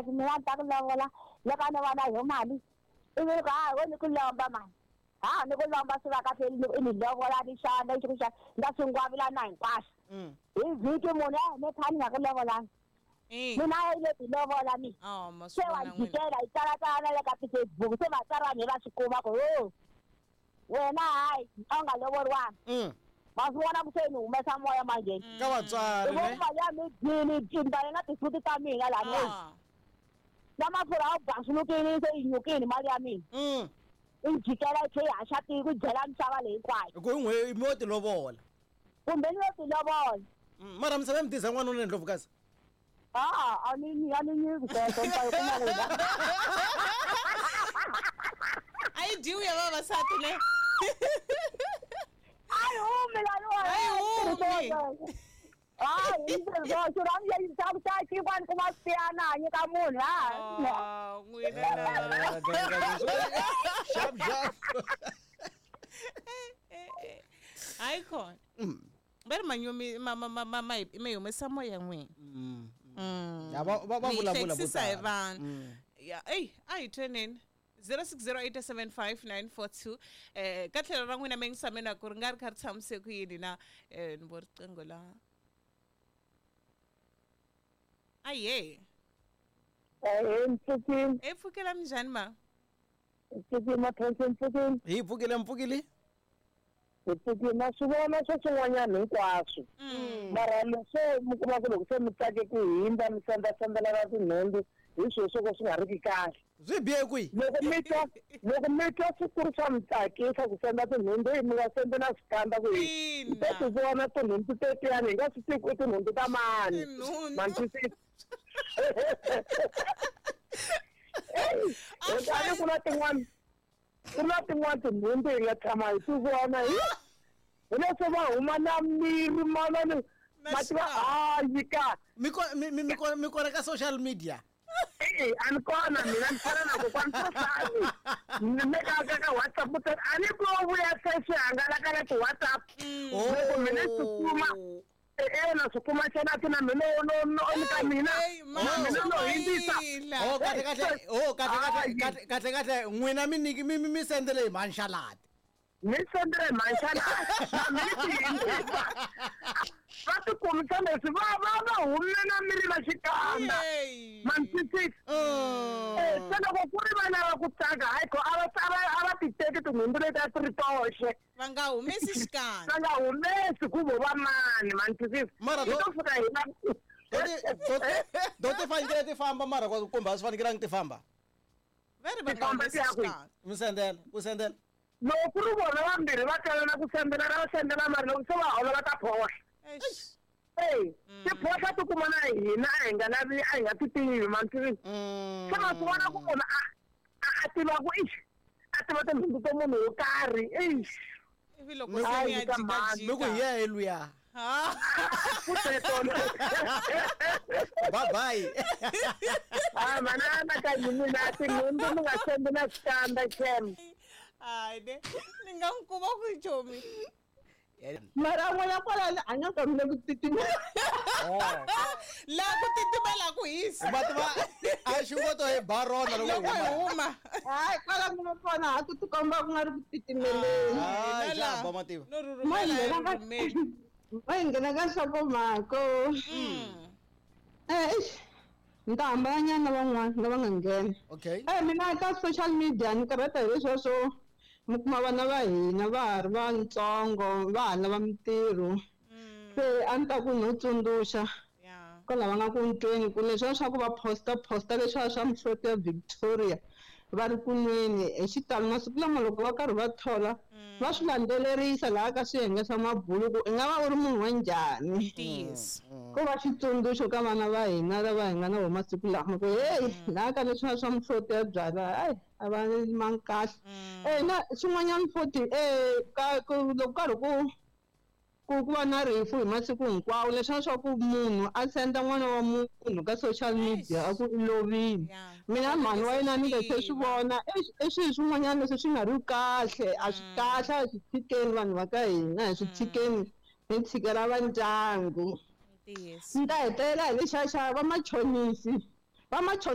Kasi mina ni ta ku lovola loko a no va na yo mali ivi ni ku ha wo ni ku lomba mali ha ni ku lomba swi va kahle i ni lovola ni xava lexi ku xava ni ta swi ngwavilana hinkwaswo hi vhiki munhu a ni kha ni nga ku lovolanga mina a yi le ti lovola mi se wa jikela yi tsalatsala na le ka ti-Facebook se vatswari vanhu va swi kuma ku ho wena hayi a wu nga lovoriwanga ma swi vona ku se ni humesa moya manjheni ka vatswari i vo mali ya mi dyini dyini na tisuti ta mina lani na mafurha a wu basulukini se yi nyukini mali ya mina i jikela yi tlhe yi haxa tiko yi dyela misava leyi hinkwayo ku n'we mi yo ti lovola kumbe ni yo ti lovola mara misava ya mi tisa n'wanuna ndlovukazi a a ni a ni nyiki sweswo ni ta yi kuma kwihi a yi dyiwi ya vavasati ne a yi humi laniwa A yi humi. hayi xirhamu lexi xa xa xinkwa ni kuma swi a nyika munhu ha Ah, n'wina la. Xap xap. Hayi khona va ri manyumi ma ma ma ma ma hi mi humesa moya n'wina. Ya va va va Mi hi vulavula vo hlekisisa hi tala. vanhu ya eyi a hi tweneni 06087594 ka tlhelo ra n'wina mi ngisameni ku ri nga ri kha ri tshamise ku yini na ni vo riqingho la aye ehe mpfukini e pfukela minjhani ma mpfukini mathonsi mpfukini Hi pfukile mpfukile. hi pfukini na swi vona swo swin'wanyana hinkwaswo mara leswo mi kuma ku loko se mi tsake ku hindza mi sendzasendzela tinhundzu hi swilo swo ka swi nga ri ki kahle Swi bihe kwihi? loko mi twa loko mi twa swi ku ri swa mi tsakisa ku senda tinhundzu hi mi nga sendi na swikandza ku hi Ina. to ti vona tinhundzu tetiyani hi nga swi tivi ku i tinhundzu ta mani Tinhundzu. ma ni twisisa kutani ku na tin'wana ku na tin'wana tinhundzu hi nga tshama hi ti vona hi hi leswo va huma na miri manani Na ma tiva xikandza. hayi ka Mi ko mi mi mi ko mi kona ka social media. e a ni kona mina ni fana na kokwani sosani ni le ka ka ka WhatsApp ta a ni ku vuya se swi hangalaka na ti-WhatsApp loko mina swi kuma e na swi kuma xana ti na mina no no ni ka mina Ey, ma na mina no hindzisa chumayela. Oh kahle kahle. Oh kahle kahle Hayi. kahle kahle kahle n'wina mi niki mi mi mi sendele hi mhanxalati. ni sendele mhanxana na mina ti hindzisa va ti kumisa leswi va va va hume na miri va xikandza Yey. ma ni twisisa se loko ku ri va lava ku tsaka hayi ko a va a va a va ti teki tinhundzu leti a ti ri toxe va nga humesi xikandza va nga humesi ku vo va mani ma ni twisisa Mara hi to fika hi va To ti fanekele ti famba mara kumbe a swi fanekelangi ti famba. va ri va Ti nga famba humesi ti ya kwihi? xikandza Mi sendela, ku sendela. loko ku ri vona vambirhi va twelana ku sendela va sendela mara loko se va hola va ta phohla Eish. eyi tiphohla ti kuma na hina a hi nga lavi a hi nga ti tivi ma ni twisisa se ma swi vona ku munhu a a- a tiva ku ixi a tiva tinhundzu to munhu wo karhi ixi ivi loko Mi se ku- mi ya Hayi, ka mhani. Mi ku hi jikajika yehe luya. Ah. ku teto Bye bye. a mana anakanyi mina tinhundzu mi nga sendi na xikandza xem hayi ne ni nga n'wi kuma ku chomi mara n'wana kwalano a nga kamile ku titimela laha ku titimela ku hisa Ma tiva a xingoto hi ba rona loko loko hi hi huma. huma hayi kwala ku nga kona ha ku tikomba ku nga ri ku titimeleni Hayi Hina laha, xa ba mativa. no mo hi rhurhumela nghena hi ka rhurhumeli mo hi nghena ka nhlokomhako eish ni ta hambananyana na van'wana lava nga nghena Okay. Mina ka social media ni karhata hi leswiya swo mi kuma vana va hina va ha ri vantsongo va ha lava mintirho se a ni ta ku no tsundzuxa ya kwala va nga ku ntweni ku leswiya swa ku va posta posta leswiya swa mihloti ya Victoria va ri ku nweni hi xitalo masiku lama loko va karhi va thola va swi landzelerisa laha ka swiyenge swa mabulu ku i nga va u ri munhu wa njhani ntiyiso ko va xitsundzuxo ka vana va hina lava hi nga na vona masiku lama ku heyi laha ka leswiya swa mihloti ya byala hayi a va mangi kahle na xin'wanyana futhi ka ku loko karhi ku ku ku va na rifu hi masiku hinkwawo leswiya swa ku munhu a senda n'wana wa munhu ka social media a ku i lovile Yeah. mina mhani wa yena ni nge se swi vona i swilo swin'wanyana leswi swi nga ri kahle a swi kahle a swi tshikeni vanhu va ka hina hi swi tshikeni hi tshikela va ndyangu ntiyiso ni ta hetelela hi lexiya xa vamachonisi vamachonisi.